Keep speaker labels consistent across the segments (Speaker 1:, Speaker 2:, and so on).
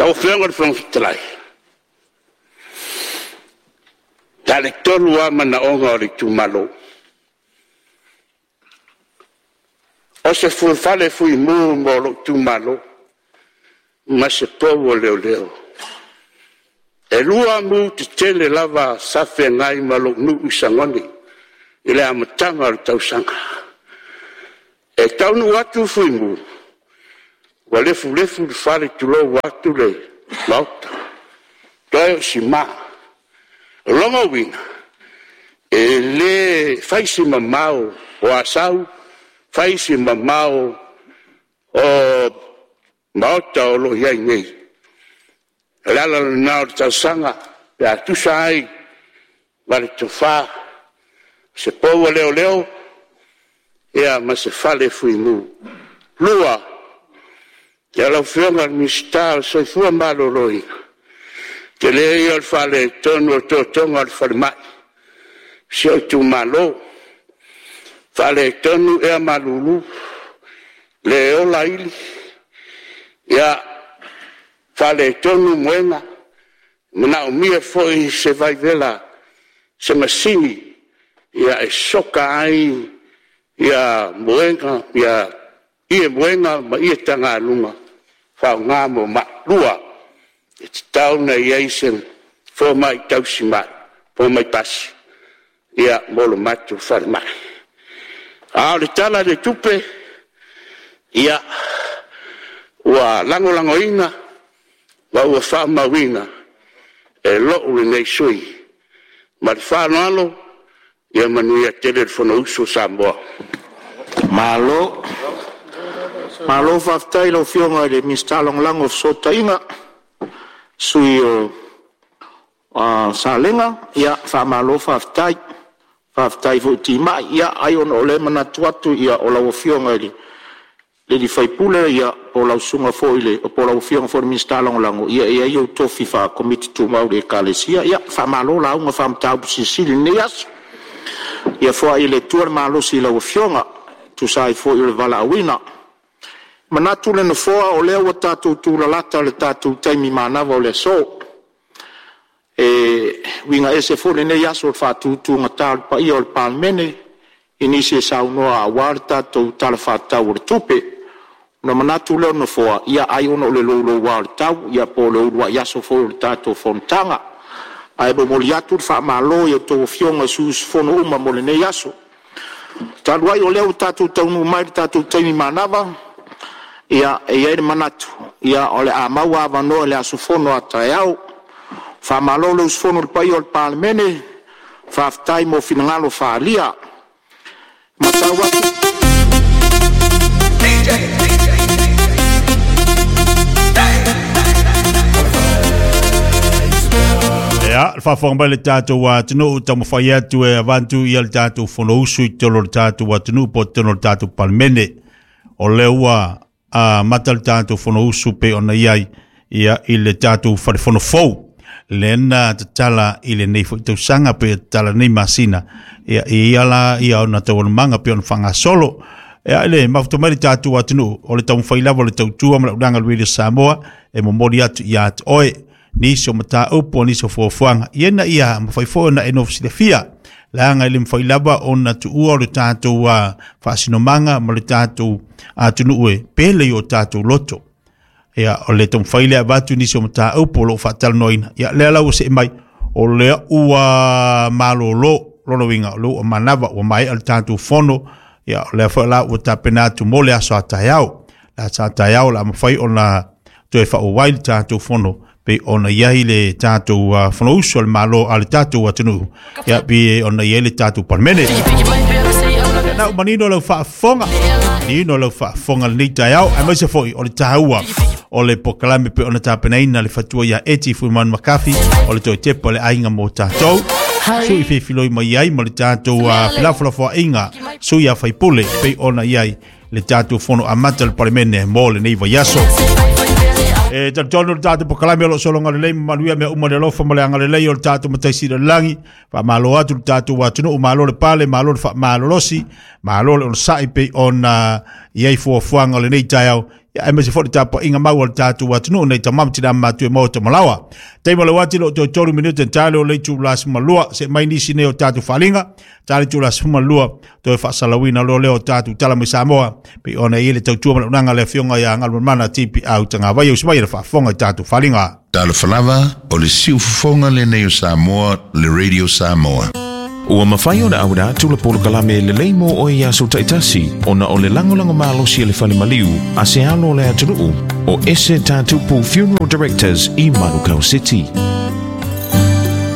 Speaker 1: Lau Afioga i le Fofoga Fetalai, na o le 3 lava manaoga o le itumalo. O se fale fuimu mo lou itumalo, ma se pou o leoleo. E 2 mu tetele lava sa feagai ma lou nuu i Sagone i le amataga o le tausaga. E taunuu atu fuimu, ua lefulefu le fale tulou atu le Maota, toe o sima. O lona uiga, e le fai se mamao o Asau, fai si mamao o maota o lo o i ai nei. O le ala lena o le talosaga pe a tusa ai ma le tofa, se pou a leoleo ma se fale fuimu. Lua, lau Afioga i le Minisita o le Soifua Maloloina, o le tele ia o le faaletonu o totoga o le falemai i si ou itumalo. Faaletonu ea malulu, le ola ili, faaletonu muega, e manaomia foi se vaivela, se masini e soka ai ie muega ma ie tagaluga e faaaoga mo mai. Lua, e tatau ona i ai se fomai tausimai, fomai pasi mo le matou falemai. A o le Tala o le Tupe, ia, ua lagolagoina ma ua faamauina e lou lenei sui usufono. Ma le faaaloalo, ia manuia tele le Fonousu a Samoa. Malo faafetai i lau Afioga i le Minisita Lagolago o Fesootaiga, le sui usufono o Salega. Faamalo faafetai, faafetai foi timai. Ia ai ona o lea e manatu atu o lau Afioga i le sui usufono po o lau Afioga foi i le Minisita Lagolago, ia e i ai ou tofi faa-Komiti Tumau i le Ekalesia. Ia faamalo lauga faa-Mataupu Silisili i lenei aso. Ia foai e le Atua le malosi i lau Afioga e tusa ai foi o le valaauina. E manatu le Nofoa o lea ua tatou tulalata i le tatou taimi manava o le aso. E uiga ese foi lenei aso i le faatutugata o le paia o le Palemene i nisi e saunoa aua le tatou Tala Faatatau o le Tupe. Ona manatu lea o le Nofoa, ia ai ona o le louloua o le tau po o le uluai aso foi o le tatou fonotaga. Ae momoli atu le faamalo i a outou Afioga i sui usufono uma mo lenei aso. Talu ai o lea ua tatou taunuu mai i le tatou taimi manava, ia, e i ai le manatu o le a maua avanoa i le aso fono a taeao. Faamalo le usufono i le paia o le Palemene, faafetai mo finagalo faaalia. E matau atu…
Speaker 2: Ia, le faafofoga mai le tatou atunuu, taumafai atu e avatu ia le tatou Fonousu i totonu o le tatou atunuu po o totonu o le tatou Palemene. O lea ua amata le tatou Fonousu pei ona i ai ia i le tatou Fale Fono fou lea na tatala i lenei foi tausaga pe tatala nei masina ia e ia la ia ona taualumaga pe ona faagasolo. Ia, le mafuta mai le tatou atunuu o le taumafai lava o le tautua ma le auaunaga a le Radio Samoa e momoli atu ia te oe nisi o mataupu o nisi o fuafuaga ia ina ia mafai foi ona e nofo silafia, leaga e le mafai lava ona tuua o le tatou faasinomaga ma le tatou atunuu e pele i o tatou loto. Ia, o le taumafai lea avatu nisi o mataupu o lo o faatalanoaina. Ia, lea la ua see mai, o lea ua malolo lona uiga o lea ua manava ua maea le tatou fono. Ia, o lea foi la ua tapena atu mo le aso a taeao. Le aso a taeao o le a mafai ona toe faaauau ai le tatou fono pei ona i ai le tatou Fonousu a le Malo a le tatou atunuu, ia pei ona i ai le tatou Palemene. Na ua manino lau faafofoga, manino lau faafofoga lenei taeao, aemaise foi o le taua o le polokalame pei ona tapenaina le fatua ia Eti Fuimanu Makafi o le toe tepa o le aiga mo tatou. Sui feifiloi mai ai ma le tatou felafolafoaiga sui a faipule pei ona i ai le tatou fono amata o le Palemene mo lenei vaiaso. E talitonu le tatou polokalame o lo o sologa lelei ma manuia mea uma le alofa ma le agalelei o le tatou Matai Sili o le Lagi. Faamalo atu le tatou atunuu, malo le pale, malo le faamalolosi, malo le onosai pei ona i ai fuafuaga o lenei taeao. Ia aemaise foi le tapuaiga mau a le tatou atunuu nei tama ma tinā matutua e maota malaoa. Taimi o le uati lo toe 3 minute tale o le itula 12 se mai nisi nei o tatou faaaliga tale itula 12 toe faasalauina loa lea o tatou tala mai Samoa pei ona i ai le tautua ma le auaunaga a le afioga ia Galumalemana TPA Tagavaia usi mai le faafofoga i tatou faaaliga.
Speaker 3: Talofa lava, o le siufofoga lenei o Samoa, le Radio Samoa.
Speaker 4: Ua mafai ona auina atu le polokalame lelei mo oe i aso taitasi ona o le lagolago malosi a le fale maliu a se alo o le atunuu o Ese Tatupu Funeral Directors i Manukau City.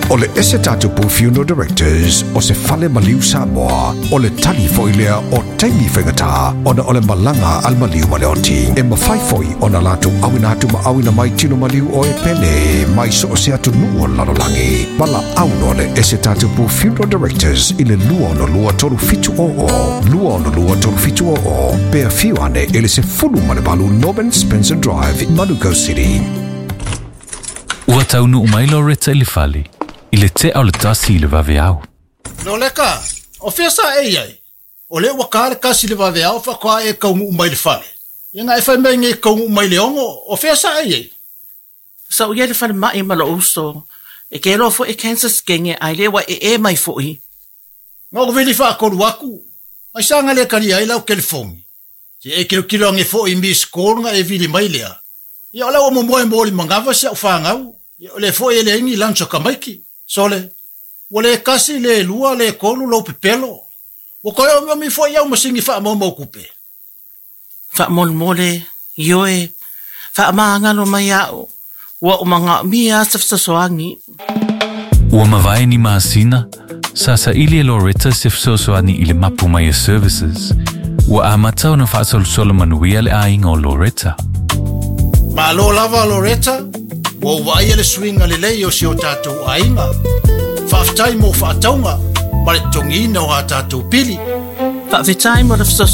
Speaker 5: O le Ese Tatupu Funeral Directors o se fale maliu Samoa, o le tali foi lea o taimi faigata ona o le malaga a le maliu ma le oti. E mafai foi ona latou auina atu ma auina mai tino maliu o e pele mai so o se atunuu o le lalolagi. Valaau loa le Ese Tatupu Funeral Directors i le 262 3700, 262 3700, pe afio ane i le 18 Norman Spencer Drive, Manukau City.
Speaker 6: Ua taunuu mai Loretta i le fale, i le tea o le 1 i le vaveao.
Speaker 7: Loleka, o fea sa e i ai? O lea ua ka le 1 i le vaveao faatoa e kaunuu mai le fale. Ia na e fai mai nei e kaunuu mai le 6, o fea sa e i ai?
Speaker 8: Sa ou i ai i le falemai ma lou uso. E keloa foi e cancer skenge ae le ua ee mai foi.
Speaker 7: Na ou vili faatolu atu, aisea na le talia ai lau telefoni? Se i e tilotilo ane foi i miss call na e vili mai lea. Ia o la ua momoe mo le manava si au fanau. Ia o lea foi e leai ni lunch a tamaiti. Sole, ua le tasi, le lua, le tolu lou pepelo. Ua toe omiomi foi au masini faamaumau tupe.
Speaker 8: Faamolemole, ioe, faamagalo mai au, ua ou manaomia se fesoasoani.
Speaker 6: Ua mavae ni masina, sa saili e Loretta se fesoasoani i le mapu mai a Services. Ua amata ona faasolosolo manuia le aiga o Loretta.
Speaker 7: Malo lava Loretta, ua ou vaaia le suiga lelei o si o tatou aiga. Faafetai mo faatauga ma le totogiina o a tatou pili.
Speaker 8: Faafetai mo le fesoasoani.